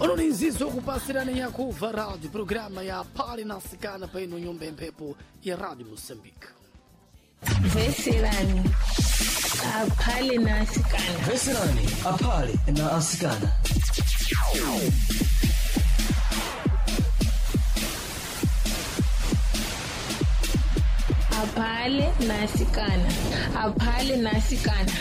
Unoninzizo kupasirani yakuva rádio, programa ya Pali na Sikana pa ino nyumba ya mphepo ya Rádio Moçambique. Veserani aphale na asikana. Veserani aphale na asikana. Aphale na asikana, aphale na asikana.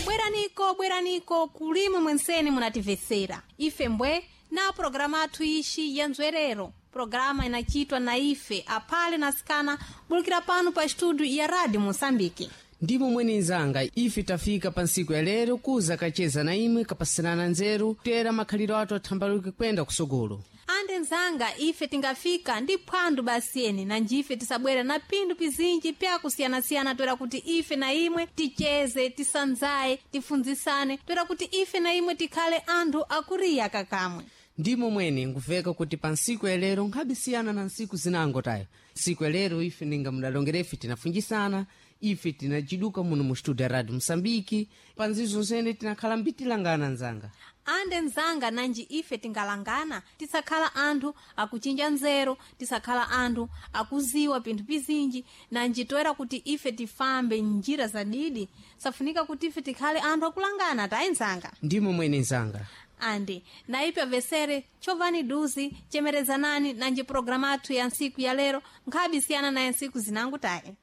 Bweraniko, bweraniko kulima mwenseni munatimvetsera ife mbwe na programa athu ixi ya nzwerero, programa inachitwa na ife aphale na asikana bulukira pano pa estudio ya Rádio Moçambique. Ndimo mwene nzanga, ife tafika pa ntsiku ya lero kuza kacheza na imwe, kapasilana nzeru, tera makhaliro athu athambaluke kwenda kusogolo. Ande nzanga, ife tingafika ndi phwando basiyeni na njife tisabwera na phindu pizinji pyakusiyanasiyana toera kuti ife na imwe ticheze, tisanzaye, tifunzisane toera kuti ife na imwe tikhale anthu akuriya kakamwe. Ndimo mwene nkuveka kuti pa ntsiku ya lero nkhabisiyana na ntsiku zinango tayo. Ntsiku ya lero ife ninga mudalongera, ife tinafunjisana, ife tinaciduka muno mu studio ya Radio Moçambique. Pa nzizo zene tinakhala mbitilangana nzanga. Ande nzanga, nanji ife tingalangana tisakhala anthu akuchinja nzeru, tisakhala anthu akuziwa pinthu pizinji, nanji toera kuti ife tifambe njira zadidi safunika kuti ife tikhale anthu akulangana tayi nzanga. Ndimo mwene nzanga. Andi naipyo vesere chovani duzi chemerezanani nanji programa athu ya ntsiku ya lero nkhabisiyana naye ntsiku zinango tayi.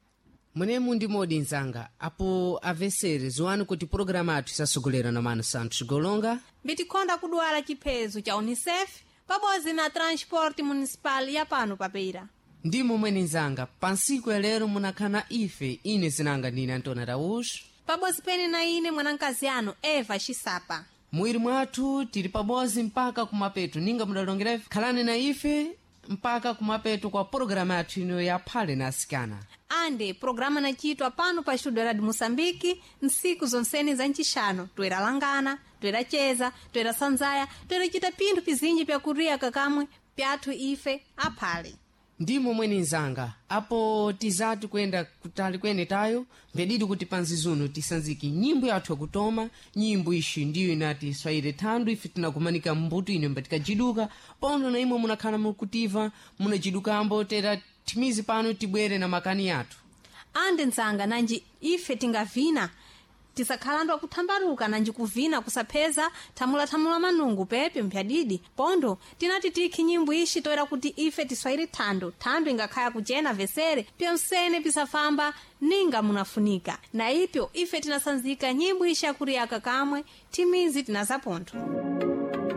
Munemu ndi modi nzanga, apo avesere ziwani kuti pologalamu athu isasogolera na mano Santos Golonga Mbitikhonda kudwala chiphezo cha UNICEF pabodzi na transport municipal ya pano papeira. Ndimo mwene nzanga, pa ntsiku ya lero munakhala ife, ine zinanga ndine Antônio Araújo pabodzi pene na ine mwanamkazi anu Eva Xisapa. Mwiri mwathu tili pabodzi mpaka kumapeto, ninga mudalongera ife, khalani na ife mpaka kumapeto kwa pologalamu yathu ino ya Phale na Asikana. Ande programa nachitwa pano pa estudio Radio Moçambique ntsiku zonsene za ncixano, toera langana, toera cheza, toera sanzaya, toera cita pinthu pizinji pyakuriya kakamwe pyathu ife aphale. Ndimo mwene nzanga, apo tizati kuyenda kutali kwene tayo mbedidi kuti panzizuno tisanzike nyimbo yathu yakutoma. Nyimbo ixi ndiyo inati swahili thandu. Ife tinakumanika mbuto ino mbatikajiduka pono na imwe munakhala mukutiva munajidukambo tera thimizi pano tibwere na makani yathu. Ande nzanga, nanji ife tingavina tisakhala anthu akuthambaluka, nanji kuvina kusapheza thamulathamula manungu pepe mpyadidi pondo tinati tikhi nyimbo ixi toera kuti ife tiswahili thando thando ingakhaya kuchena vesere pyonsene pisafamba ninga munafunika na ipyo ife tinasanzika nyimbo ixi yakuriyaka kamwe thimizi tinazapontho.